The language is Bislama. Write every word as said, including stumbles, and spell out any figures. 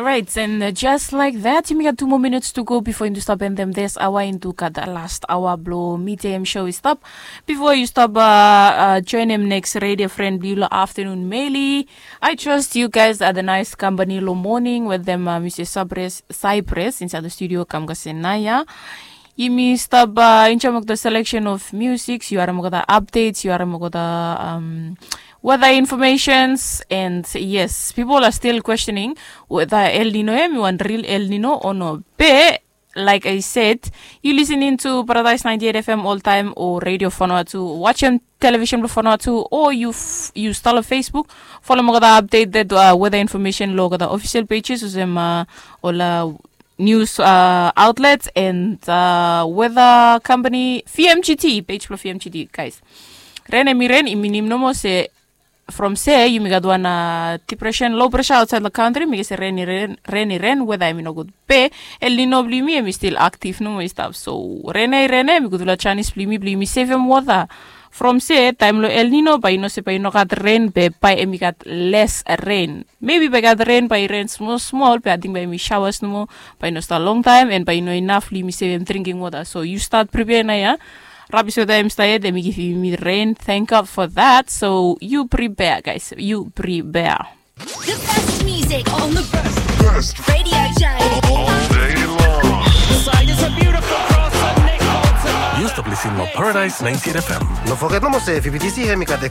Right, and uh, just like that, yumi gat two more minutes to go before yumi stop endem this hour into gat the last hour blo midday show i stop. Before you stop uh, uh, join him next radio friend blo afternoon meli. I trust you guys are the nice company lo morning with them uh, Mr. Cypress, Cypress inside the studio kam kasenaya. Yumi stop uh, enjoy the selection of music. You are the updates. You are the um, weather informations, and yes, people are still questioning whether El Nino em i wan real El Nino or no. Be like I said, you listening to Paradise ninety-eight F M all time or Radio Vanuatu, watching television blo Vanuatu, or you f- you stalo Facebook, follow mo kata update that uh, weather information lo kata official pages usem uh, ola news uh, outlets and uh, weather company V M G T, page blo V M G T, guys. Ren emi ren, i minim nomo se from se yumi gat wan uh, depression, low pressure outside the country, mi se ren i ren, ren i ren, weather emi no good. Be El Nino blo yumi emi still active nomo i stap. So ren i ren, emi gudula chance blo yumi blo yumi save em water. From se taem lo El Nino bae i no se bae i no gat ren, be bae emi gat less ren. Maybe bae gat ren bae i ren small small, be ating bae emi showers nomo, bae i no stap long time, and bae i no enough blo yumi save em drinking water. So you start prepare nao ya. Rabis weather em stap yet, emi givim yumi ren. Thank God for that. So you prepare, guys. You prepare. The best music on the best radio show. All day long. Say it's a beautiful cross and Nick Bolton. Yu stap listening to Paradise ninety-eight F M. No foget nomo se V B T C hemi gat